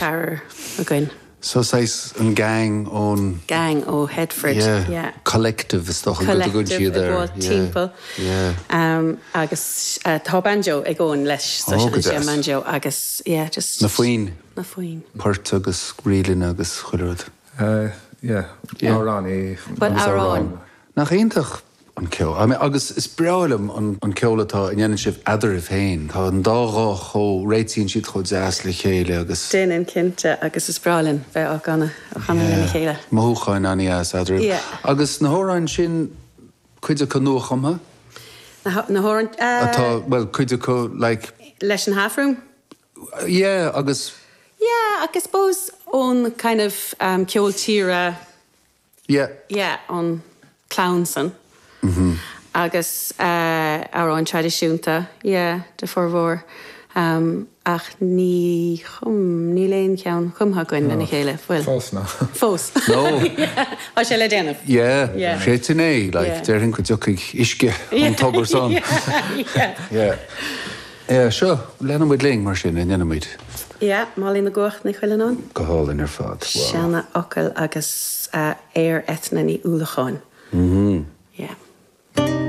Ceathrar againn. So saghas an gang ón. Gang ó Headford, yeah. Collective is dócha go dtugann siad air. Collective ag gabháil timpeall. Yeah. Agus tá banjo ag Eoin leis, so Oh, go seinneann sé an deas. banjo agus yeah, just. Na foinn. Na foinn. Poirt agus ríleanna agus chuile rud. Yeah, amhránaí. Bhuel, amhráin. Nach iontach an ceol. I mean, agus is breá liom an ceol atá a ndéanann sibh eadraibh féin. Tá an dá ghuth chomh, réitíonn siad chomh deas le chéile agus. Déanann, cinnte, agus is breá linn bheith á gcanadh, á chanadh lena chéile. Mothúcháin an-dheas eadraibh. Yeah. Agus na hamhráin sin, cuid acu nuachumtha? Na, na hamhráin, eh. Atá, bhuel, cuid acu, like. Leis an Half Room? Yeah, agus. Yeah, ach I suppose ón kind of ceol tíre. Yeah. Yeah, ón clann san. Agus amhráin traidisiúnta, yeah, de formhór. Ach ní chum, níl aon cheann cumtha againn lena chéile, bhfuil? Fós, no. Fós. No. Yeah, tá sé le déanamh. Yeah, Yeah. sin é, like, Yeah. déarfainn go dtiocfaidh uisce ón tobar san. Yeah, yeah. Yeah. Yeah, seo, leanfaidh muid linn mar sin, an ndéanfaidh muid? Yeah, Molly na gCuach Ní Chuilleanáin. Go hálainn ar fad, wow. Seana fhocal agus aoir Eithne Ní Uallacháin. Mm-hmm.